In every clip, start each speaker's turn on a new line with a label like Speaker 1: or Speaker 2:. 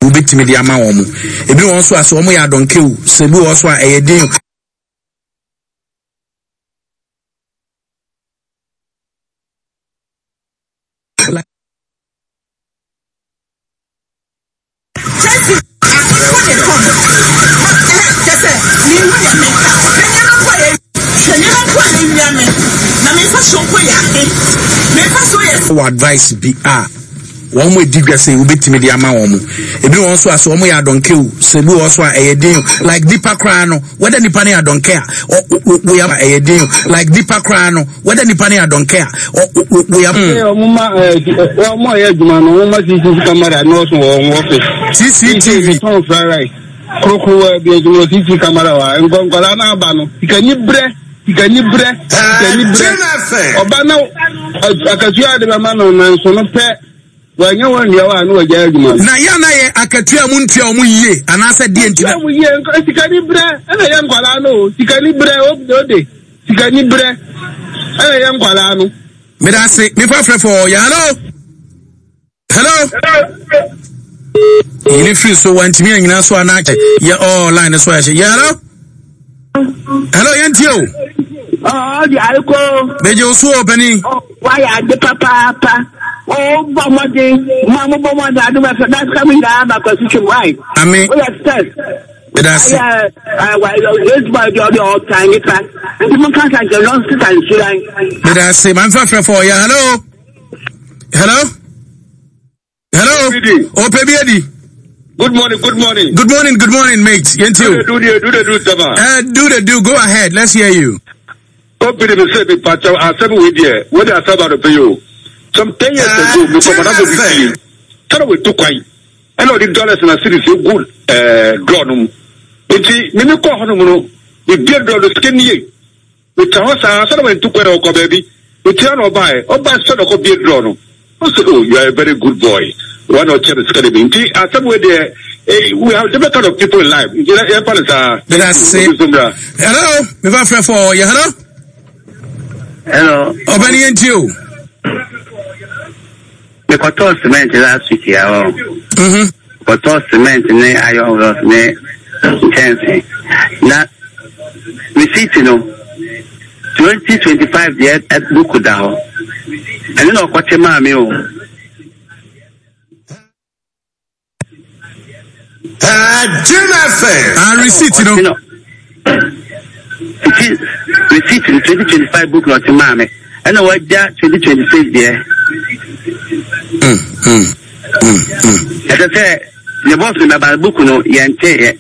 Speaker 1: Wobɛtumi de ama wɔn. Ebi wɔ hɔ nso a sɛ wɔyɛ adɔnkɛ o, sɛ ebi wɔ hɔ nso a ɛyɛ den o. Wɔ advice bi a wɔn adi dwa sɛ wobɛtumi de ama wɔn. Ebi wɔ hɔ nso a sɛ wɔn yɛ adɔnkɛ o, sɛ ebi wɔ hɔ nso a ɛyɛ den o. Like nipa koraa no, whether nipa no yɛ adɔnkɛ a, woyɛ ɛyɛ den o. Like nipa koraa no, whether nipa no yɛ adɔnkɛ a, woyɛ.
Speaker 2: Wɔn ma wɔn a yɛ adwuma no, wɔn ma CCTV camera nɔɔso wɔ wɔn office.
Speaker 1: CCTV.
Speaker 2: Tɔn fried rice. Korokorowa bi adwuma CCTV camera wɔ ha. Nkwadaa no aba no, sikani brɛ. Sikani brɛ, sikani brɛ. Ɔba na akatua a de bɛma no nanso no pɛ wɔanyɛ wɔn nnua a na wɔagyae adwuma no.
Speaker 1: Na yɛ na yɛ akatua mu ntua wɔn yie anaasɛ deɛ ntina.
Speaker 2: Ntua wɔn yie nka sikani brɛ ɛna yɛ nkwadaa no o sikani brɛ ode sikani brɛ ɛna yɛ nkwadaa no.
Speaker 1: Meda ase mefa frɛ fɔ yɛ hello. Hello. Yini firi so wantumi anyina so ana yɛ ɔɔ line no so ayɛ yɛ hello. Hello yɛn tie o.
Speaker 3: Ɔɔ di ayiko.
Speaker 1: Megye wo so o panin.
Speaker 3: Wayɛ ade papaapa. O bɔ mmɔden ma mo bɔ mmɔden ade bɛ fɛ dasika mi nyinaa ba kwasi twem wae.
Speaker 1: Ami.
Speaker 3: Woyɛ first.
Speaker 1: Meda ase.
Speaker 3: Ayɛ ɛɛ eight boy deɛ ɔde ɔtan nipa nti mo nka nsa nkyɛn no sisa nsuran.
Speaker 1: Meda ase maame fa frɛ fɔ yɛ hello. Hello? Hello? Ope bi edi.
Speaker 2: Good morning, good morning.
Speaker 1: Good morning, good morning, mate. Yɛnti o.
Speaker 2: Do the do the do sama.
Speaker 1: Do the do. Go ahead. Let's hear you.
Speaker 2: Company mi sɛ mi pakyɛw asɛm wei deɛ wei de asɛm ba no pɛ yi o. Some 10 years ago mi kɔ madamfo bi fie. Sɛdeɛ wetu kwan ɛna ɔde dollars na cedis egu ɛɛ drawer no mu. Nti mi mi kɔ hɔ nom no mi bie drawer no sika nie. Metra hɔ saa ansa na wantu kwan na ɔkɔ baabi. Metua na ɔbaeɛ. Ɔbaeɛ sɛ na ɔkɔ bue drawer no. Ɔse oh you are a very good boy. Wa na ɔkyɛ me sika no bi. Nti asɛm wei deɛ eh, we have different kind of people in life. Nti yɛmfa no saa.
Speaker 1: Meda ase.
Speaker 2: Obi nso mmra.
Speaker 1: Hello, mefa frɛ fɔ yɛ hello.
Speaker 4: Hello.
Speaker 1: Ɔbɛni yɛn ti o.
Speaker 4: Mekɔtɔɔ cement last week ya hɔ. Mhm. Kɔtɔɔ cement ne iron rods ne nkyɛnse. Na receipt no 2025 deɛ book da hɔ. Ɛno na ɔkɔte maa me o.
Speaker 1: Jim FM. Ah, receipt no.
Speaker 4: Nti receipt no 2025 book na ɔte maa me. Ɛna wagya 2026 deɛ. Ɛsɛ sɛ ne bɔs no bɛba book no yɛnteeɛ.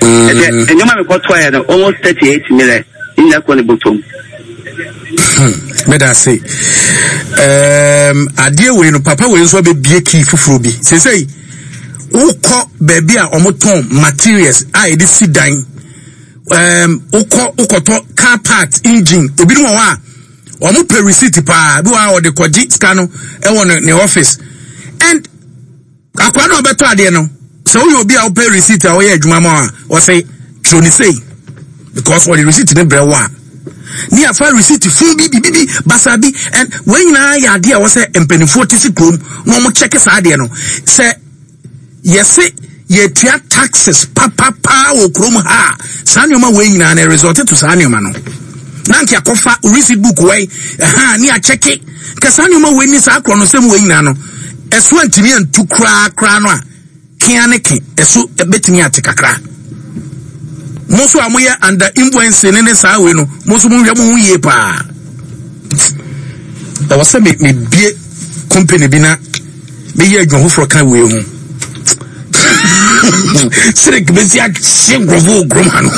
Speaker 4: Ɛsɛ nneɛma mekɔtɔeɛ no almost 38 million ne nyinaa kɔ ne bɔtɔm.
Speaker 1: Meda ase. Um, adeɛ wei no papa wei nso abɛbie kii foforɔ bi. Seesei wokɔ baabi a wɔtɔn materials a yɛde si dan um, wokɔ wokɔtɔ car part engine ebinom wɔ hɔ a wɔn pɛ receipt paa bi wɔ hɔ a wɔde kɔgye sika no ɛwɔ ne ne office and Akwadaa no a ɔbɛtɔ adeɛ no, sɛ woyɛ obi a wopɛ receipt a wɔyɛ adwuma ma a, wɔsɛ twerɛ ne sei because wɔde receipt no brɛ wo a ne afa receipt fun bi bibi bi basa bi and wɔn nyinaa yɛ adeɛ a wɔsɛ mpanimfoɔ te si kurom na wɔn kyɛke saa adeɛ no sɛ yɛse yɛtua taxes papapaa wɔ kurom ha a saa nneɛma wei nyinaa na result to saa nneɛma no na nka akɔfa receipt book wei ɛha ne akyɛke Nka saa nneɛma wei ne saa korɔnosɛm wei nyinaa no, ɛso antumi antu koraa koraa no a, kea ne ke, ɛso bɛtumi ate kakra. Mo nso a moyɛ under influence ne ne saa wei no, mo nso monhwɛ mo ho yie paa. Ɛwɔ sɛ me mebie company bi na meyɛ adwuma foforɔ ka wei ho. Sirik bɛsi ahye nkurɔfoɔ wɔ kurom ha no.